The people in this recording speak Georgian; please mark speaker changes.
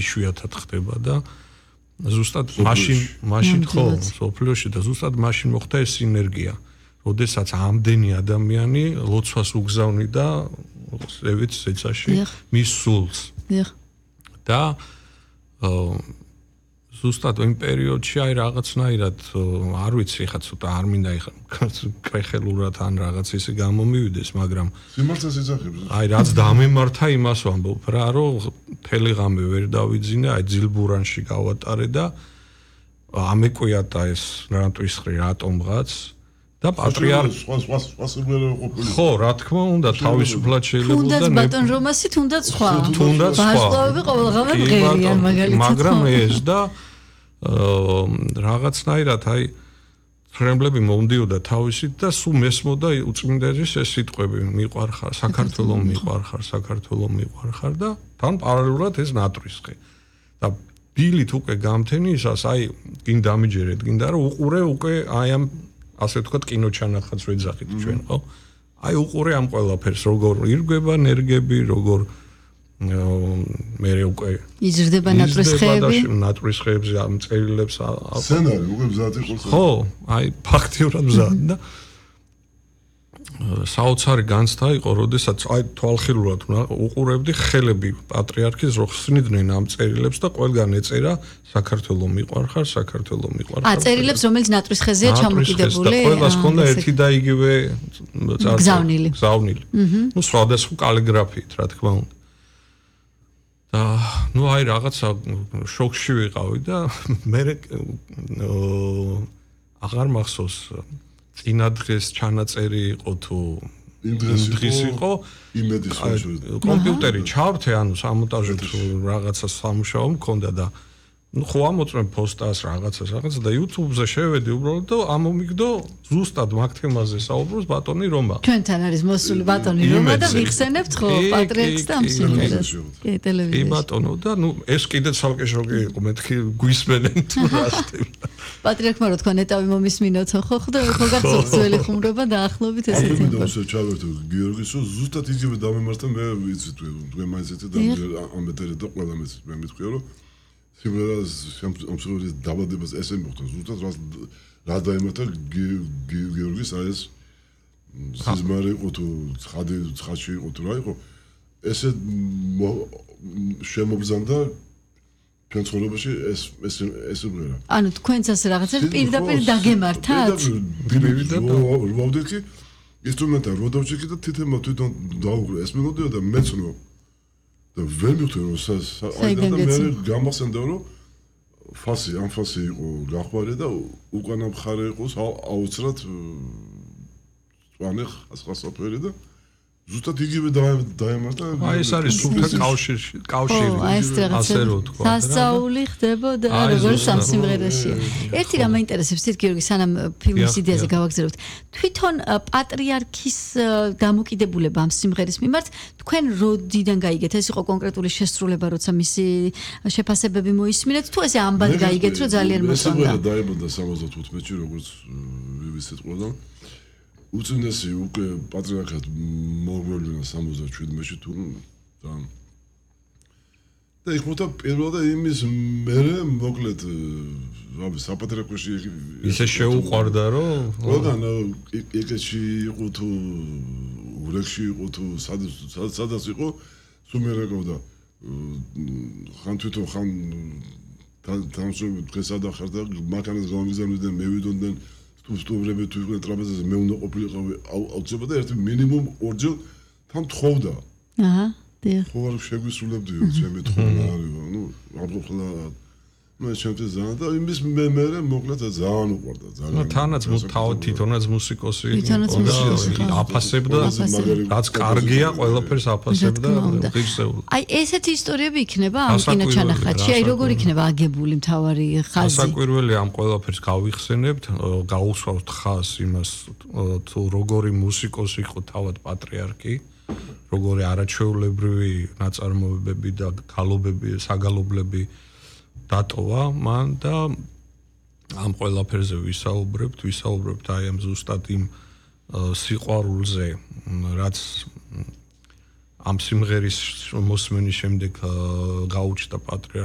Speaker 1: იშვიათად ხდება და ზუსტად მაშინ ხო სოფლიოში და ზუსტად მაშინ მოხდა ეს სინერგია როდესაც ამდენი ადამიანი ლოცვას უგზავნიდა ზევით სეცაში მის სულს და ზუსტად იმ პერიოდში აი რაღაცნაირად არ ვიცი ხა ცოტა არ მინდა კრეხელურად ან რაღაც ისე გამომივიდეს მაგრამ
Speaker 2: სიმართლეს ეძახებს
Speaker 1: აი რაც დამემართა იმას ვამბობ რა რომ თელეგამე ვერ დავიძინე აი ძილბურანში გავატარე და ამეკვიატა ეს რატვისხრი რატომღაც და პატრიარქი ხო რა თქმა უნდა თავისუფლად შეიძლება
Speaker 3: და თუნდაც ბატონ რომასი თუნდაც სხვა ვარსკვლავები ყოველდღე მღერიან მაგალითად
Speaker 1: მაგრამ ეს და რაღაცნაირად აი ფრემლები მომდიოდა თავისით და სულ მესმოდა უწმინდესის ეს სიტყვები მიყვარხარ საქართველო მიყვარხარ და თან პარალელურად ეს ნატვისხი და ბილით უკვე გამთენისას აი გინ დამიჯერეთ გინდა რომ უყურე უკვე აი ამ ასე ვთქვათ კინოჩანახაც ვეძახით ჩვენ ხო აი უყურე ამ ყველაფერს როგორ ირგვება ნერგები როგორ მე უკვე
Speaker 3: იზრდება
Speaker 1: ნატვისხეებზე ამ წერილებს
Speaker 2: სცენარი უკვე მზად იყო
Speaker 1: ხო აი ფაქტიურად მზად და საოცარი განცდა იყო როდესაც აი თვალხილულად უყურებდი ხელები პატრიარქის რო ხსნიდნენ ამ წერილებს და ყველგან ეწერა საქართველო მიყვარხარ
Speaker 3: წერილებს რომელიც ნატვისხეზეა ჩამოკიდებული
Speaker 1: და ყველას ჰქონდა ერთი და იგივე
Speaker 3: გზავნილი
Speaker 1: ნუ სხვადასხვა კალიგრაფიით რა თქმა უნდა და ნუ აი რაღაცა შოკში ვიყავი და მე აღარ მახსოვს წინა დღეს ჩანაწერი იყო თუ
Speaker 2: იმ დღეს
Speaker 1: იყო
Speaker 2: იმედის
Speaker 1: კომპიუტერი ჩავრთე ანუ სამონტაჟო რაღაცა სამუშაო მქონდა და ну ხო ამოწმე პოსტას რაღაცა და YouTube-ზე შევედი უბრალოდ და ამომიგდო ზუსტად მაგ თემაზე საუბრობს ბატონი რომა
Speaker 3: ჩვენთან არის მოსული ბატონი რომა და ვიხსენებთ ხო პატრიარქს და ამ სიმღერას კი ტელევიზიაში
Speaker 1: კი ბატონო და ну ეს კიდე ცალკე შოკი იყო მეთქი გვისმენენ თუ რა ხდება
Speaker 3: პატრიარქმა რო თქვა ნეტავი მომისმინოთ ხო ხო გახსოვს ძველი ხუმრობა და ახლობით ესეთი
Speaker 2: და უსე ჩავერთო გიორგისო ზუსტად იგივე დამემართა მე ვიცი თქვენ მაინც ეცე და ამბეთერე და ყველა მე მithქვია რომ სიმღერას ამსურდის დაბადებას ესე მოხდა ზუსტად რა დაემართა გიორგის აი ეს სიზმარი იყო თუ ცხადში იყო თუ რა იყო ესე შემოგზანდა ჩვენ ცხოვრებაში ეს სიმღერა
Speaker 3: ანუ თქვენც ასე რაღაცას პირდაპირ დაგემართათ
Speaker 2: ვავდეთ კი ინსტრუმენტა რო დავჭიქი და თითქოს თვითონ დაუგრე ეს მელოდია და მეცნო და ვერ მივხვდი რომ აი და მე გამახსენდა რომ ამ ფასი იყო გახვარე და უკანა მხარე იყო აუცრად წვანე ხასხასაფერი და ზუსტად იგივე დაემართა
Speaker 1: აი ეს არის სულთან კავშირი ასე რო თქვა
Speaker 3: სასწაული ხდებოდა როგორც ამ სიმღერაშია ერთი რამ მაინტერესებს თით გიორგი სანამ ფილმის იდეაზე გავაგზავნებთ თვითონ პატრიარქის დამოკიდებულება ამ სიმღერის მიმართ თქვენ როდიდან გაიგეთ ეს იყო კონკრეტული შესრულება როცა მისი შეფასებები მოისმინეთ თუ ესე ამბად გაიგეთ რომ ძალიან მოსწონდა
Speaker 2: დაიბადა 75-ში როგორც ვიცით ყველგან უწინესი უკვე პატრიარქად მოგვევლინა 77-ში თუ და იქ მოთა პირველად იმის მერე მოკლედ საპატრიარქოში
Speaker 1: ისე შეუყვარდა რომ
Speaker 2: ყველგან ეკეთში იყო თუ ურეკში იყო თუ სადაც იყო სულ მე რეკავდა ხან თვითონ ხან თანამშრომლები დღეს ადახარ და მანქანას გამიგზავნიდნენ მე ვიდოდნენ სტუმრები თუ იყვნენ ტრაპეზაზე მე უნდა ყოფილიყავი აუცილებლად და ერთი მინიმუმ ორჯერ თან თხოვდა
Speaker 3: აჰა დიახ
Speaker 2: ხო არ შეგვისრულებდი ჩემი თხოვნა არის ნუ აღხლა მე ჩემთვის ძალიან და იმის მე მოკლედ ძალიან უყვარდა ძალიან
Speaker 1: თანაც თვითონაც მუსიკოსი აფასებდა რაც კარგია ყველაფერს აფასებდა ღირსეული
Speaker 3: აი ესეთი ისტორიები იქნება ამ კინოჩანახატში აი როგორ იქნება აგებული მთავარი ხაზი
Speaker 1: საკვირველი ამ ყველაფერს გავიხსენებთ გაუსვავთ ხაზს იმას თუ როგორი მუსიკოსი იყო თავად პატრიარქი როგორი არაჩვეულებრივი ნაწარმოებები და გალობები საგალობლები დატოვა მან და ამ ყველაფერზე ვისაუბრებთ აი ამ ზუსტად იმ სიყვარულზე რაც ამ სიმღერის მოსმენის შემდეგ გაუჩნდა პატრიარქ